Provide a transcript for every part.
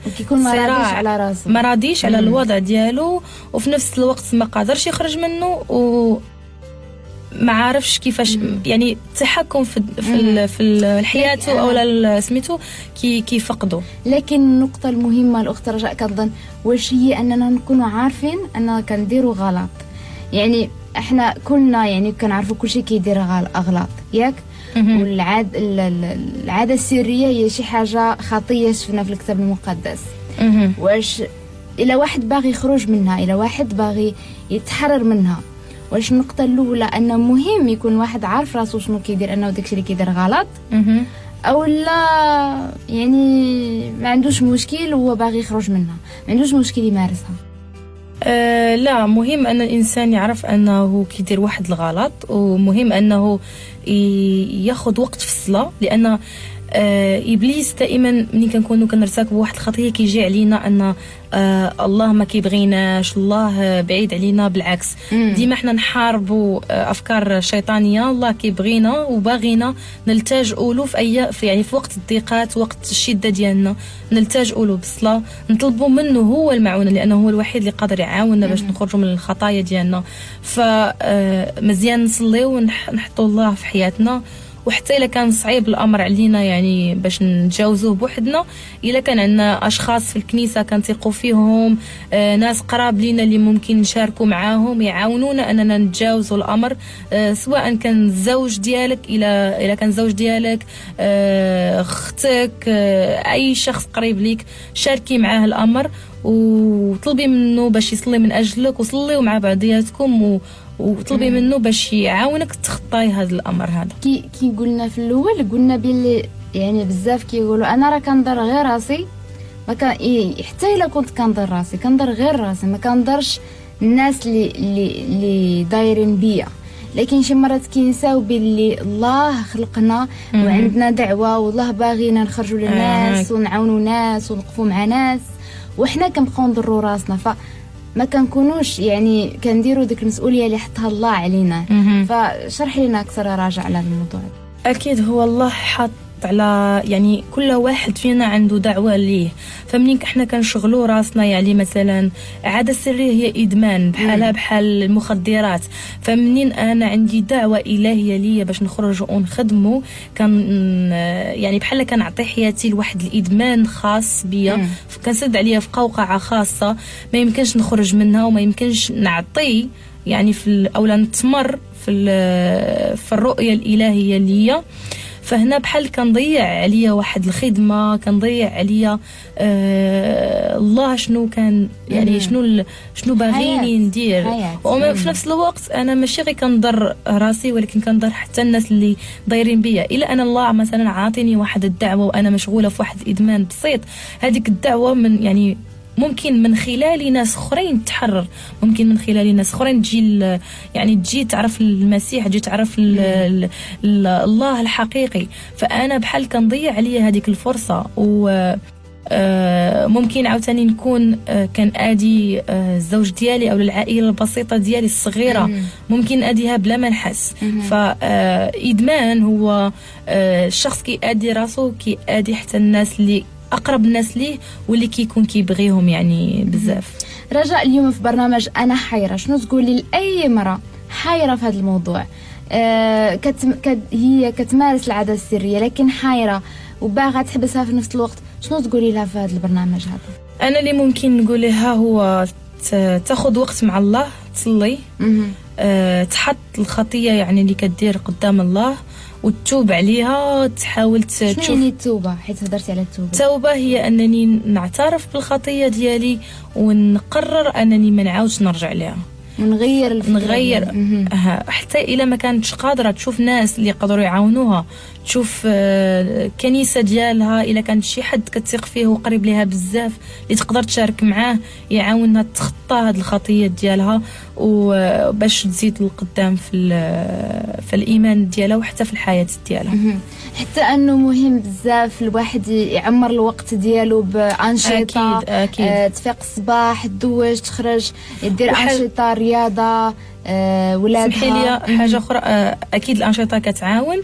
وكيكون ما راضيش على راسو، ما راضيش على الوضع ديالو، وفي نفس الوقت ما قادرش يخرج منه و ما عارفش كيفاش يعني التحكم في الحياة او سميتو كيفقدوا. لكن النقطة المهمة الاخت رجاء كنظن واش هي اننا نكونوا عارفين ان كنديروا غلط. يعني احنا كلنا يعني كنعرفوا كلشي كيدير اغلاط، ياك؟ والعادة السرية هي شي حاجة خطيه شفنا في الكتاب المقدس. واش الى واحد باغي يخرج منها، الى واحد باغي يتحرر منها، واش النقطة الاولى انه مهم يكون واحد عارف راسو شنو كيدير، انه داكشي اللي كيدير غلط، او لا يعني ما عندوش مشكل وهو باغي يخرج منها، ما عندوش مشكل يمارسها؟ لا، مهم ان الانسان يعرف انه كيدير واحد الغلط، ومهم انه ياخذ وقت في الصلاة، لان ابليس دائما ملي كنكونوا كنرتكبوا واحد الخطية كيجي علينا ان الله ما كيبغيناش، الله بعيد علينا. بالعكس، ديما حنا نحاربوا افكار شيطانية. الله كيبغينا وباغينا نلتجئوا له في اي في يعني في وقت الضيقات، وقت الشدة ديالنا، نلتجئوا له بالصلاة، نطلبوا منه هو المعونة، لانه هو الوحيد اللي قادر يعاوننا باش نخرجوا من الخطايا ديالنا. فمزيان نصليو ونحطوا الله في حياتنا، وحتى الا كان صعيب الامر علينا يعني باش نتجاوزوه بوحدنا، الا كان عندنا اشخاص في الكنيسة كنثقوا فيهم، ناس قراب لينا اللي ممكن نشاركوا معاهم يعاونونا اننا نتجاوزوا الامر، سواء كان الزوج ديالك، الى كان الزوج ديالك، اختك، اي شخص قريب ليك، شاركي معاه الامر وطلبي منه باش يصلي من اجلك، وصليوا مع بعضياتكم وطلبي منه باش يعاونك تخطاي هذا الامر هذا. كي قلنا في الاول، قلنا باللي يعني بزاف كيقولوا انا راه كنضر غير راسي، ما كان حتى الا كنت كنضر راسي كنضر غير راسي، ما كنضرش الناس اللي دايرين بيا. لكن شي مرات كينساو باللي الله خلقنا وعندنا دعوه، والله باغينا نخرجوا للناس ونعاونوا ناس ونوقفوا مع ناس، وحنا كنبقاو نضروا راسنا. ف ما كنكونوش يعني كنديروا ديك المسؤولية اللي حطها الله علينا. فشرح لنا اكثر راجع على الموضوع. اكيد هو الله حط على يعني كل واحد فينا عنده دعوه ليه، فمنين احنا كنشغلوا راسنا، يعني مثلا عادة سرية هي ادمان بحالها بحال المخدرات، فمنين انا عندي دعوه الهيه ليا باش نخرج ونخدموا، كان يعني بحال كنعطي حياتي لواحد الادمان خاص بيا، كنسد عليا في قوقعه خاصة ما يمكنش نخرج منها، وما يمكنش نعطي يعني في اولا نتمر في الرؤية الالهية ليا. فهنا بحال كنضيع عليا واحد الخدمة، كنضيع عليا الله شنو كان يعني شنو باغيني ندير. وفي نفس الوقت انا ماشي غير كنضر راسي، ولكن كنضر حتى الناس اللي دايرين بيا. الا انا الله مثلا عاطيني واحد الدعوة وانا مشغولة في واحد الادمان بسيط، هذيك الدعوة من يعني ممكن من خلال ناس اخرين تحرر، ممكن من خلال ناس اخرين تجي يعني تجي تعرف المسيح، تجي تعرف الله الحقيقي. فانا بحال كنضيع عليا هذيك الفرصة، و ممكن عاوتاني نكون كان ادي الزوج ديالي او العائلة البسيطة ديالي الصغيرة، ممكن اديها بلا ما نحس. فادمان هو الشخص كيادي راسو، كيادي حتى الناس اللي اقرب الناس ليه واللي كيكون كيبغيهم يعني بزاف. رجاء، اليوم في برنامج انا حيره، شنو تقولي لاي امراة حيره في هذا الموضوع؟ هي كتمارس العادة السرية لكن حيره وباغا تحبسها في نفس الوقت، شنو تقولي لها في هذا البرنامج هذا؟ انا اللي ممكن نقول لها هو تاخذ وقت مع الله، تصلي، تحط الخطية يعني اللي كدير قدام الله وتتوب عليها، تحاول تشوف شنو يعني التوبة، حيت هضرتي على التوبة. التوبة هي انني نعترف بالخطيه ديالي ونقرر انني ما نعاودش نرجع لها، نغير الفكرة، نغير حتى الا ما كانتش قادرة تشوف ناس اللي يقدروا يعاونوها، تشوف كنيسة ديالها، الا كان شي حد كتثق فيه وقريب ليها بزاف اللي تقدر تشارك معاه يعاونها تخطى هاد الخطية ديالها، وباش تزيد للقدام في الايمان ديالها وحتى في الحياة ديالها. حتى انه مهم بزاف الواحد يعمر الوقت ديالو بانشطه. اكيد اكيد. تفيق الصباح، تدوش، تخرج، دير انشطة، رياضة، ولادها. سمحي لي حاجة اخرى، اكيد الانشطة كتعاون.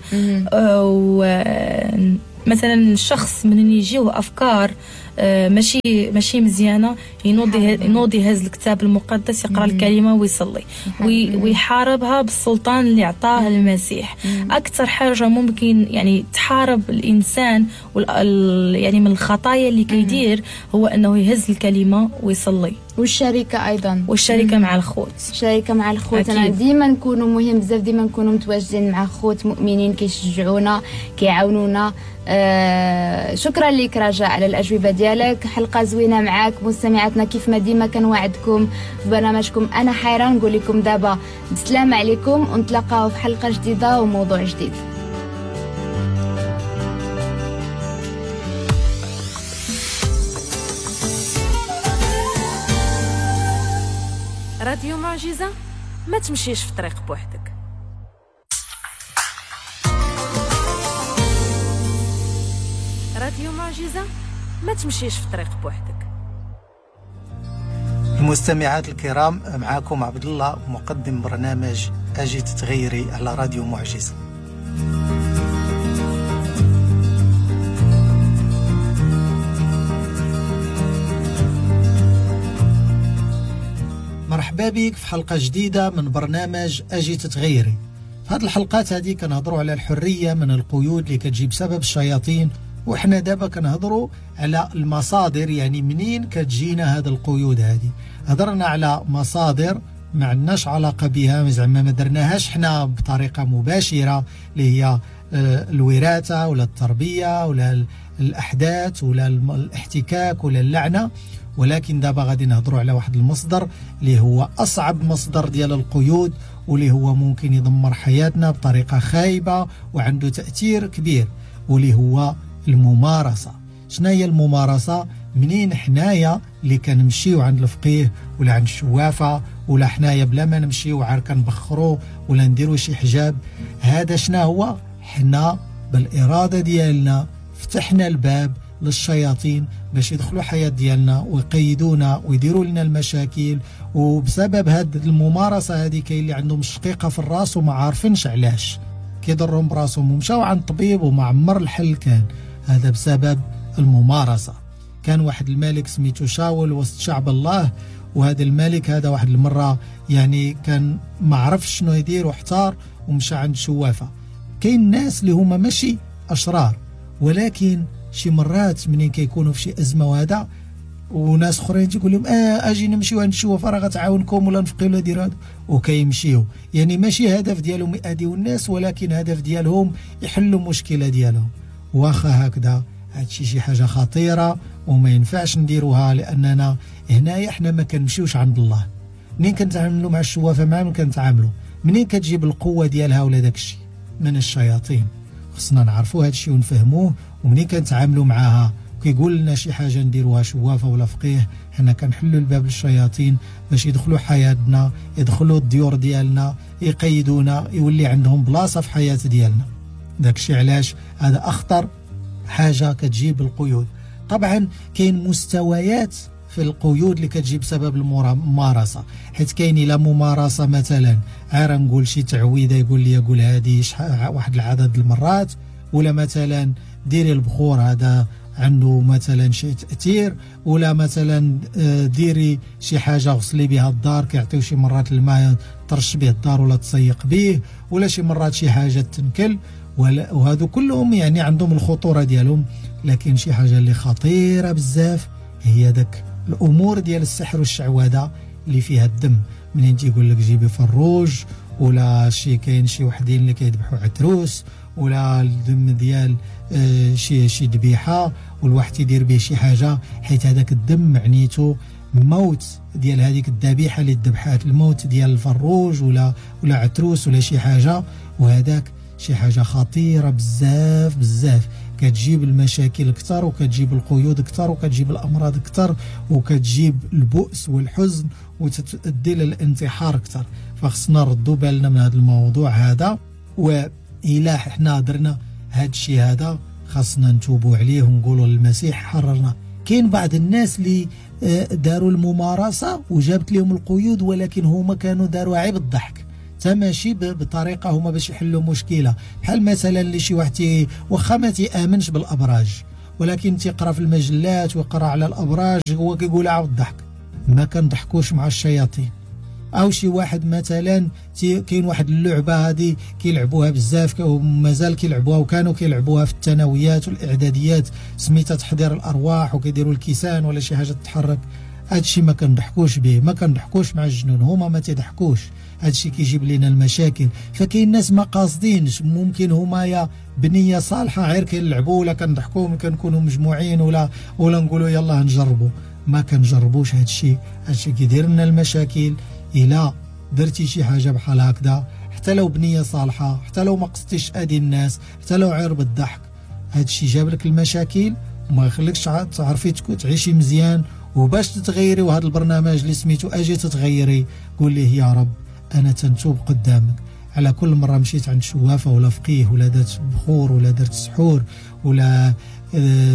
ومثلا الشخص من يجيو افكار ماشي مزيانه، ينوض يهز الكتاب المقدس، يقرا الكلمة ويصلي ويحاربها بالسلطان اللي عطاه المسيح. اكثر حاجة ممكن يعني تحارب الانسان يعني من الخطايا اللي كيدير هو انه يهز الكلمة ويصلي. والشركة ايضا، والشركة مع الخوت، الشركة مع الخوت. انا ديما نكونوا مهم بزاف، ديما نكونوا متواجدين مع خوت مؤمنين كيشجعونا كيعاونونا. شكرا لك رجاء على الاجوبة ديالك، حلقة زوينة معاك. مستمعاتنا كيف ما ديما كنوعدكم في برنامجكم انا حيره، نقول لكم دابا بسلامه عليكم ونتلاقاو في حلقة جديدة وموضوع جديد. راديو معجزة، ما تمشيش في طريق بوحدك. راديو معجزة، ما تمشيش في طريق بوحدك. المستمعات الكرام، معاكم عبد الله مقدم برنامج أجي تتغيري على راديو معجزة. مرحبا بك في حلقة جديدة من برنامج أجي تتغيري. في هذه الحلقات هذه كنهضروا على الحرية من القيود اللي كتجي بسبب الشياطين، وحنا دابا كنهضروا على المصادر، يعني منين كتجينا هذه القيود هذه. هضرنا على مصادر ما عندناش علاقة بها، زعما ما درناهاش حنا بطريقة مباشرة، اللي هي الوراثة ولا التربية ولا الأحداث ولا الاحتكاك ولا اللعنة. ولكن دابا غادي نهضروا على واحد المصدر اللي هو أصعب مصدر ديال القيود، واللي هو ممكن يدمر حياتنا بطريقة خايبة وعنده تأثير كبير، واللي هو الممارسة. شنو هي الممارسة؟ منين حنايا اللي كنمشيو عند الفقيه ولا عند الشوافة، ولا حنايا بلا ما نمشيو عار كنبخرو ولا نديرو شي حجاب، هذا شنو هو؟ حنا بالإرادة ديالنا فتحنا الباب للشياطين باش يدخلوا حياة ديالنا ويقيدونا ويديروا لنا المشاكل. وبسبب هاد الممارسة هذه كاين اللي عندهم الشقيقة في الراس وما عارفينش علاش كيضرهم براسهم، ومشاو عند طبيب وما عمر الحل كان. هذا بسبب الممارسة. كان واحد الملك سميتو شاول وسط شعب الله، وهذا الملك هذا واحد المرة يعني كان ما عرفش شنو يدير واحتار ومشى عند شوافة. كاين ناس اللي هما ماشي أشرار، ولكن شي مرات منين كيكونوا في شي أزمة وهذا، وناس اخرين تيقول لهم اجي نمشيو عند الشوافة راه غتعاونكم ولا نفقيو ولا ديروا هذا، وكيمشيو. يعني ماشي هدف ديالهم يأذيو الناس، ولكن هدف ديالهم يحلوا مشكلة ديالهم. واخا هكذا هادشي شي حاجة خطيرة وما ينفعش نديروها، لأننا هنايا حنا ما كنمشيوش عند الله. منين كنتعاملوا مع الشوافة مع من كنتعاملوا؟ منين كتجيب القوة ديالها ولا داكشي؟ من الشياطين. خصنا نعرفوا هادشي ونفهموه، ومنين كنتعاملوا معاها كيقول لنا شي حاجة نديروها شوافة ولا فقيه، حنا كنحلوا الباب للشياطين باش يدخلوا حياتنا، يدخلوا الديور ديالنا، يقيدونا، يولي عندهم بلاصة في حياة ديالنا. داكشي علاش هذا أخطر حاجة كتجيب القيود. طبعا كاين مستويات في القيود اللي كتجيب بسبب الممارسة، حيت كاين إلى ممارسة مثلا عار نقول شي تعويذة يقول لي يقول هذه واحد العدد المرات، ولا مثلا ديري البخور هذا عنده مثلا شي تأثير، ولا مثلا ديري شي حاجة غسلي بها الدار، كيعطيو شي مرات الماء ترش به الدار ولا تسيق به، ولا شي مرات شي حاجة تنكل، وهذو كلهم يعني عندهم الخطورة ديالهم. لكن شي حاجة اللي خطيرة بزاف هي داك الأمور ديال السحر والشعوذة اللي فيها الدم. منين تيقول لك جيبي فروج، ولا شي كاين شي وحدين اللي كيذبحوا عتروس، ولا الدم ديال شي ذبيحة والواحد يدير به شي حاجة، حيت هذاك الدم معنيته موت ديال هذيك الذبيحة اللي ذبحات، الموت ديال الفروج ولا عتروس ولا شي حاجة. وهذاك شي حاجة خطيرة بزاف بزاف، كتجيب المشاكل اكثر، وكتجيب القيود اكثر، وكتجيب الامراض اكثر، وكتجيب البؤس والحزن، وتؤدي للانتحار اكثر. فخصنا نردوا بالنا من هذا الموضوع هذا، وإلا حنا درنا هذا الشيء هذا خاصنا نتوبوا عليه ونقولوا للمسيح حررنا. كاين بعض الناس اللي داروا الممارسة وجابت لهم القيود، ولكن هما كانوا داروا عيب الضحك، ماشي بطريقة هما باش يحلوا مشكلة. بحال مثلا اللي شي واحد واخا ما تيامنش بالابراج، ولكن تيقرا في المجلات ويقرا على الابراج، هو كيقول عاود الضحك. ما كنضحكوش مع الشياطين. او شي واحد مثلا كاين واحد اللعبه هذه كيلعبوها بزاف ومازال كيلعبوها، وكانوا كيلعبوها في الثانويات والاعداديات، سميتها تحضير الارواح، وكيديروا الكيسان ولا شي حاجه تتحرك. هادشي ما كنضحكوش به، ما كنضحكوش مع الجنون، هما ما تيضحكوش، هادشي كيجيب لنا المشاكل. فكاين ناس ما قاصدينش، ممكن هما يا بنيه صالحه غير كيلعبوا ولا كنضحكوا كنكونوا مجموعين ولا نقولوا يلاه نجربوا. ما كنجربوش هادشي، هادشي كيدير لنا المشاكل. إلا درتي شي حاجة بحال هكذا، حتى لو بنية صالحة، حتى لو ما قصدتيش أذي الناس، حتى لو عير بالضحك، هادشي جاب لك المشاكل وما يخليكش تعرفي تعيشي مزيان. وباش تتغيري، وهذا البرنامج اللي سميتو أجي تتغيري، قول ليه يا رب أنا تنتوب قدامك على كل مرة مشيت عند شوافة ولا فقيه ولا درت بخور ولا درت سحور ولا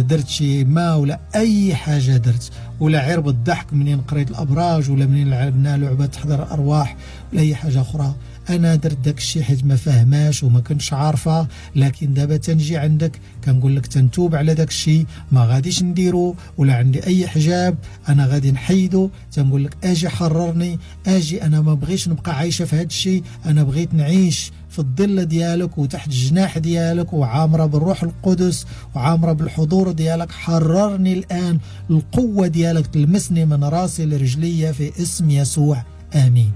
درت شي ما ولا أي حاجة درت، ولا عير بالضحك منين قريت الأبراج ولا منين لعبنا لعبة تحضر الأرواح ولا أي حاجة أخرى. أنا درت داك الشيء حيت ما فهماش وما كنتش عارفة، لكن دابا تنجي عندك كنقول لك تنتوب على داك الشيء، ما غاديش نديرو ولا عندي أي حجاب أنا غادي نحيدو. تنقول لك أجي حررني، أجي، أنا ما بغيتش نبقى عايشة في هاد الشيء، أنا بغيت نعيش في الظل ديالك وتحت الجناح ديالك وعامرة بالروح القدس وعامرة بالحضور ديالك. حررني الآن، القوة ديالك تلمسني من راسي لرجلي في اسم يسوع، آمين.